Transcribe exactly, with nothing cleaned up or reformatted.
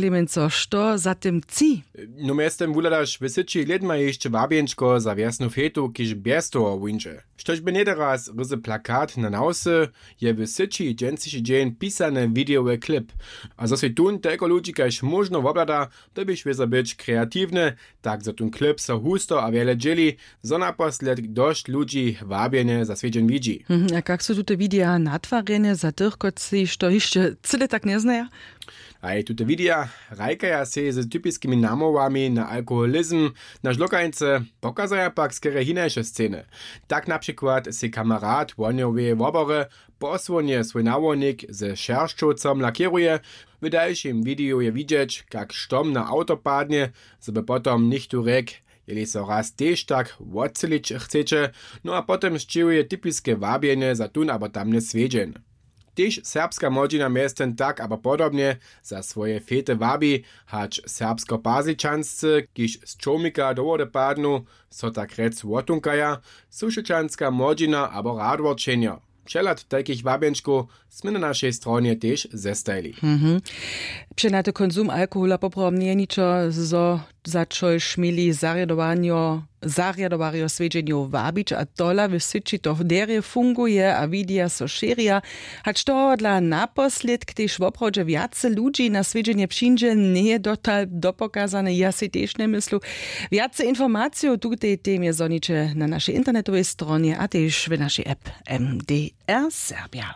Klemenco, što za tym tči? No mjeztym wuhladaš w syći lědma hišće wabjenčko za wjesnu fetu, kiž bjez toho wuńdźe. Štož by něhdy raz ryzy plakat na nawsy, je w syći dźensniši dźeń pisany widejowy klip. A zo sej tón telko ludźi kaž móžno wobhlada, to běš wězo być kreatiwny, tak zo tón klip so husto a wjele dźěli, zo naposledk dosć ludźi wabjenje za swjedźeń widźi. Mhm, a kak su tute wideja natwarjene za tych, kotřiž to hišće cyle tak njeznaja? A je tute wideja hrajkaja sej z typiskimi namołwami na alkoholizm na žlokańce, pokazaja pak skerje hinaše sceny. Tak na přikład sej kamerat wohnjoweje wobory posłonje swój nałožnik ze šeršćowcom lakěruje. W dalšim wideju je widźeć, kak štom na awto padnje, zo by potom něchtó rjekł, jeli so raz tež tak wotcylić chceće. No a potom sćěhuje typiske wabjenje za tón abo tamny swjedźeń. Tež serbska młodźina mjeztym tak abo podobnje za swoje fety wabi, hač serbskopazličanscy, kiž z čołmika do wody padnu, so tak rjec wotunkaja, sušećanska młodźina abo radworčenjo. Přehlad tajkich wabjenčkow smy na našej stronje tež zestajili. Mhm. Přenady konsum alkohola poprawom njeje ničo, zo za čož měli zarjadowanjo zarjadowarjo swjedźenjow wabić, a tola w syći to derje funguje a wideja so šěrja. Hač tohodla naposledk tež woprawdźe wjace ludźi na swjedźenje přińdźe, njeje dotal dopokazane, ja sej tež njemyslu. Wjace informacijow w tutej temje zhoniće na našej internetowej stronje a tež w našej app M D R Serbia.